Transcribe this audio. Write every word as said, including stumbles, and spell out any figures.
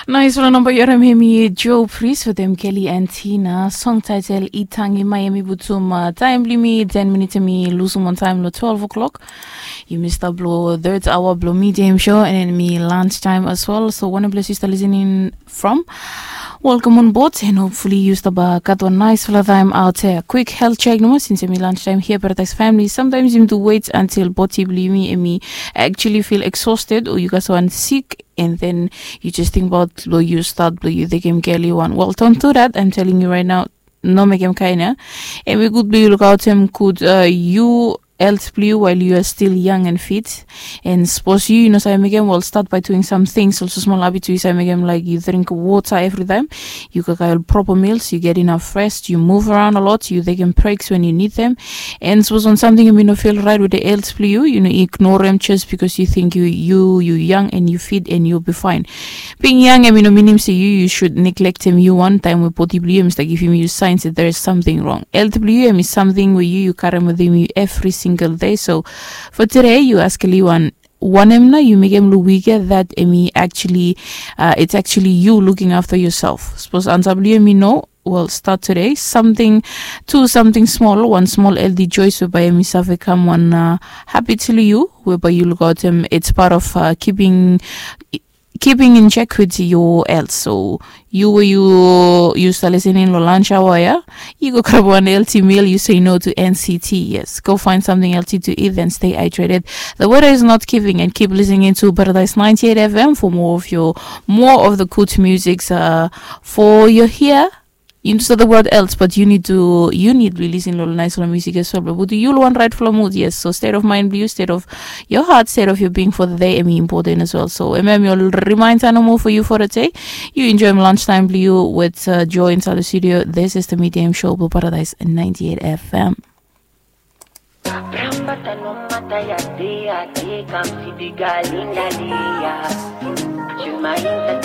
Naisfala namba yu harim hemi Joe Priest wetem Kelly and Tina. Song title Itangi Mai. Hemi putum taim blong yumi ten minit hemi lusum on taim long twelve o'clock. Yumi stap long third hour blong medium show and hemi lunch time as well. So wanem ples yu stap listening from, welcome on board and hopefully yu stap gat wan naisfala taim out here. Quick health check nomo since hemi lunch time here Paradise family. Sometimes yumi do wait until body blong yumi hemi actually feel exhausted or yu gat wan sick and then yu just tingbaot blong yu stat blong yu tekem keli wan. Well, don't do that, I'm telling you right now. No mekem kain ya. Hemi gud blong yu lukaotem gud yu health blong yu while yu are still young and fit. And sapos yu yu no save mekem, well, start by doing some things. Also small habit yu save mekem, like yu drink water every time, yu kakae ol proper meals, yu get enough rest, yu move around a lot, yu tekem breaks when yu need them. And sapos wan samting hemi no feel right with the health blong yu, yu no ignorem just because yu ting yu yu yu young and yu fit and yu be fine. Being young hemi no minim se yu yu should neglectem yu wan taim we body blong yu hemi stap givim yu signs that there is something wrong. Health blong yu hemi samting we yu yu karim wetem yu every single day. So for today yu askem wan, wanem nao yu mekem long wik ya that hemi actually uh, it's actually you looking after yourself. Sapos ansa blong yu hemi no, well, start today. Something, do something small, wan small healthy choice we bae hemi save kam wan uh, habit long yu we bae yu lukaotem. It's part of uh, keeping keeping in check with your health. So yu we yu yu stap listening long lunch hour ya, yu go grab wan healthy meal, yu say no to N C T. Yes, go find something healthy to eat and stay hydrated. The weather is not giving and keep listening to Paradise ninety-eight F M for more of your more of the good musics uh, for your here. Yu no stap the world else, but yu need to yu need blong lisin long nice long music as well blong putum yu long wan rightful mood. Yes, so state of mind blong yu, state of your heart, state of your being for the day hemi important as well. So hemi hemi ol reminder nomo for you for the day. Yu enjoyim lunch time blong yu with uh, Joe inside the studio. This is the Medium Show blong Paradise ninety-eight F M. Brambata no mata ya de ya de kam si biga linda de ya. Shuma inta